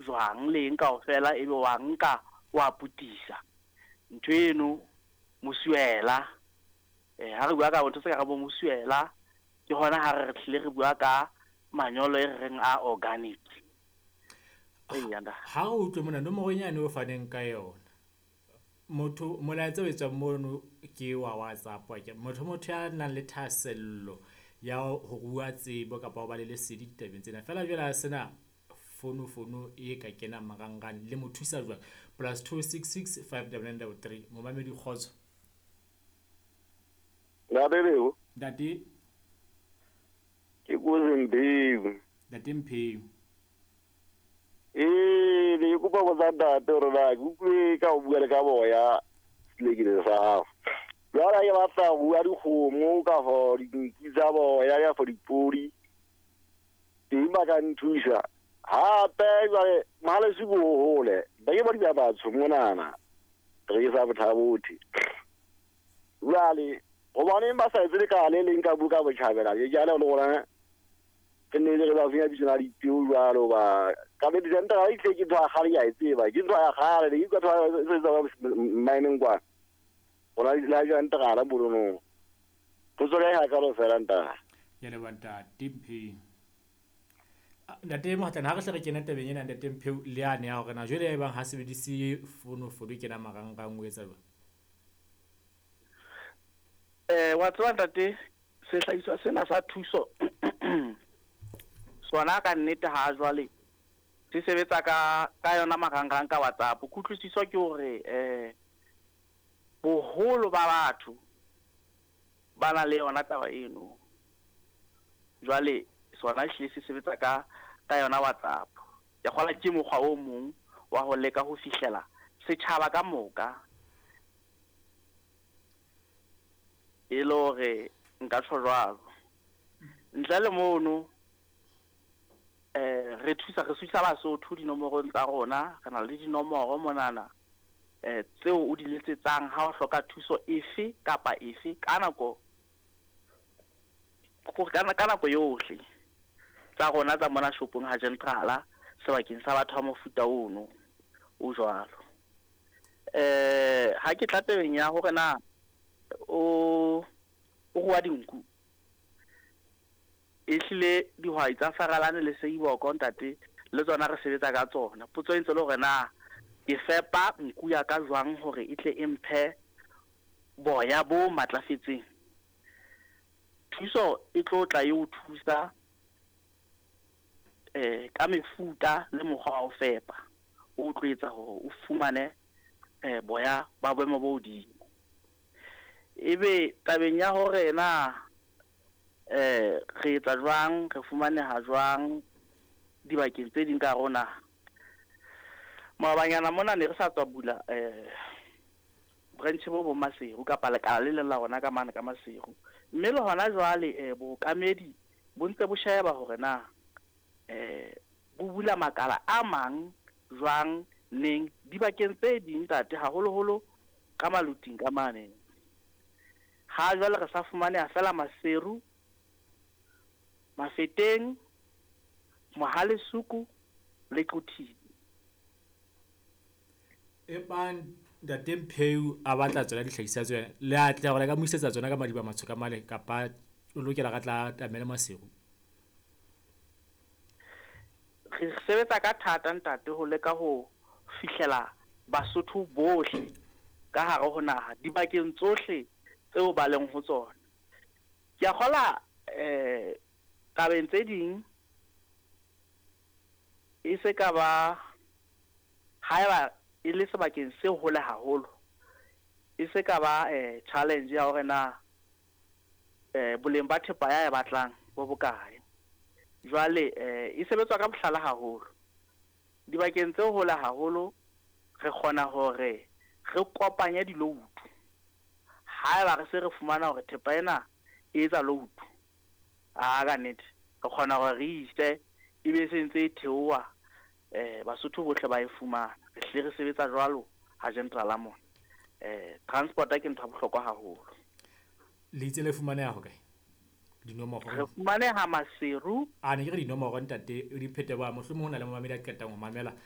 Jwang le eng kaofela, ebe wa nka wa putisa ntho eno mosuela. Ha re bua ka ntho tse ka re bo mosuela, ke hona ha re hlile re bua ka manyolo e re reng a organic. Eya ntate. Ha re utlwe mona nomoro nyane o faneng ka yona. Motho, molaetsa o etswang mono ke wa WhatsApp akere. Motho ya nang le thahasello ya ho rua tsebo kapa ho ba le lesedi ditabeng tsena. Feela jwale a sena fono fono e ka kenang marangrang le mo thusa jwang? +266 5933. Momamedi, kgotso. Ntate Lebo. Ntate. Ke Kozi Mpheu. Ntate Mpheu. Ee, ne ke kopa botsa ntate hore na ke utlwe ka o bua le ka boya selekile sa hao. Jwale ke batla ho bua dikgomo kafo dinku tsa boya kafo dipodi. Teng ba ka nthusa. Hape jwale Mohalesu ko hole. Ba ke ba batsho monana. Re sa bothabothe. Jwale hobaneng ba sa etse lekala le leng ka buka botjhabela, ke jale le rona re ne re ba fenya bitso la dipeo jwalo ba ka be disentra e tle ke ntho ya kgale, ke a e tseba, ke ntho ya kgale ke utlwa ntho e tsa mmineng kwa rona la jantrala bolonong go tswa ka kalo fela, ntate. Ya leboha, ntate Mpheu. Ntate Mohatlane, ha re hle re kena tabeng ena, ntate Mpheu, le yane ya hore na jwale e bang ha sebedise fono fono e kena marangrang, o etsa jwang? Wa tseba ntate, sehlahiswa sena sa thuso sona ka nnete ha jwale se sebetsa ka yona marangrang, ka WhatsApp. Kutlwisiso ke hore boholo ba batho ba na le yona taba eno. Jwale sona ehlile se sebetsa ka yona WhatsApp. Ke kgola ke mokgwa o mong wa ho leka ho fihlela setjhaba ka moka, e le hore nka tjho jwalo. Ntle le mono, re thusa Basotho dinomorong tsa rona. Re na le dinomoro monana tseo o di letsetsang ha o hloka thuso efe kapa efe ka nako, ka nako yohle, tsa rona tsa mona shopong ha Gentrala, sebakeng sa batho ba mofuta ono o jwalo. Ha ke tla tabeng ya hore na o rua dinku, ehlile dihwai tsa Faralane le Seiboko, ntate, le tsona re sebetsa ka tsona. Potso e ntse le hore na ke fepa nku ya ka jwang hore e tle e mphe boya bo matlafetseng. Thuso e tlo tla e o thusa ka mefuta le mokgwa wa ho fepa o tlo etsa hore o fumane boya ba boemo bo hodimo. Ebe tabeng ya hore na re etsa jwang, re fumaneha jwang dibakeng tse ding ka rona, maobanyana mona ne re sa tswa bula branch bo bo Maseru kapa lekala le leng la rona ka mane ka Maseru, mme le hona jwale bookamedi bo ntse bo sheba hore na bo bula makala a mang jwang, neng, dibakeng tse ding, ntate, haholoholo ka Maluting ka mane. Ha jwale re sa fumaneha fela Maseru, Mafeteng, Mohalesuku le Quthing. E bang ntate Mpheu a batla tsona dihlahiswa tsena, le atleha hore le ka mo isetsa tsona ka Madiba Matsho ka mane, kapa o lokela re tla tamele Maseru? Re sebetsa ka thata, ntate, ho leka ho fihlela Basotho bohle ka hare ho naha dibakeng tsohle tseo ba leng ho tsona. Ke a kgola tabeng tse ding e se ka ba haeba e le sebakeng se hole haholo, e se ka ba challenge ya hore na boleng ba thepa ya e batlang bo bokae. Jwale e sebetswa ka bohlale haholo dibakeng tse hole haholo. Re kgona hore re kopanye di-load haeba re se re fumana hore thepa ena e etsa load a ka nnete, re kgona hore re ise, ebe se ntse e theoha, Basotho bohle ba e fumana. Re hlile re sebetsa jwalo ha Gentrala mona. Transport ke ntho ya bohlokwa haholo. Le itse le fumaneha hokae, dinomoro? Re fumaneha Maseru. A ne ke re dinomoro, ntate, o di phete ba mohlomong ho na le momamedi a qetang ho mamela.